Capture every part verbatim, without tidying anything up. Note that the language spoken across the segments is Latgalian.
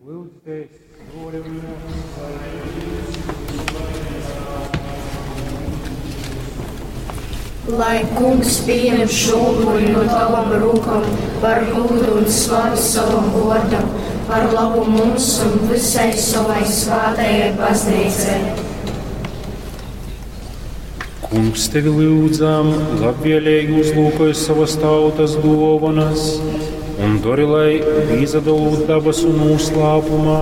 Lyudzitēs, bruoli un muosys, lai Dīvs myus laimeidz. Lai Kungs pieņem šo upuri no tavam rūkam par gūdu un slavi savam vōrdam, par labu mums un visai savai svētajai baznīcai. Kungs, tevi lūdzam, labvēlīgi uzlūkoj savas tautas dōvanas un dori, lai pīsadalūt dabasu noslēpumā,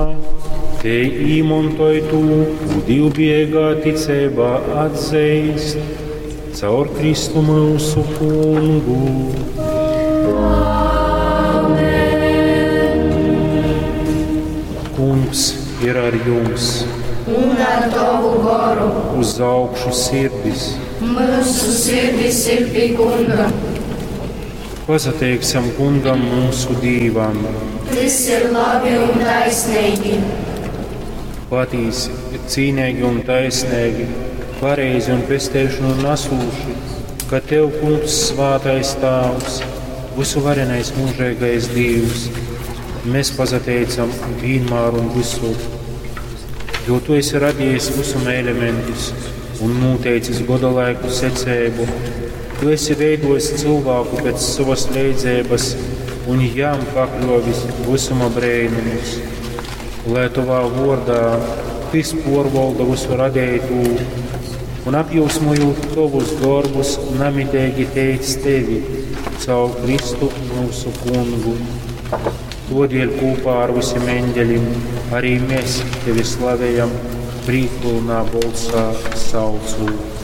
te īmontoj tū, kū divbiegā ticeibā atzeist, caur Kristu mūsu kungu. Amen. Kungs ir ar jums. Un ar tavu goru. Uz augšu sirdis. Mūsu sirdis ir pie Kunga. Pasateiksim Kungam mūsu Dīvam. Tas ir labi un taisnīgi. Patīsi ir cīnīgi un taisnīgi, pareizi un pesteišanu nesūši, ka Tev, Kungs, svētais Tāvs, visuvarenais mūžīgais Dievs, mēs pasateicam vienmēr un visur, jo Tu esi radījis visuma elementus un noteicis godalaiku secību. Tu esi veidojis cilvēku pēc savas leidzības un jām pakļovis visuma brēnumus, lai tavā vārdā tis porvalda visu radītu un apjūsmojot tavus darbus, namitīgi teic tevi caur Kristu mūsu kungu. Todēļ kopā ar visiem eņģeļiem arī mēs tevi slavējam, prīkpilnā balsā saucot.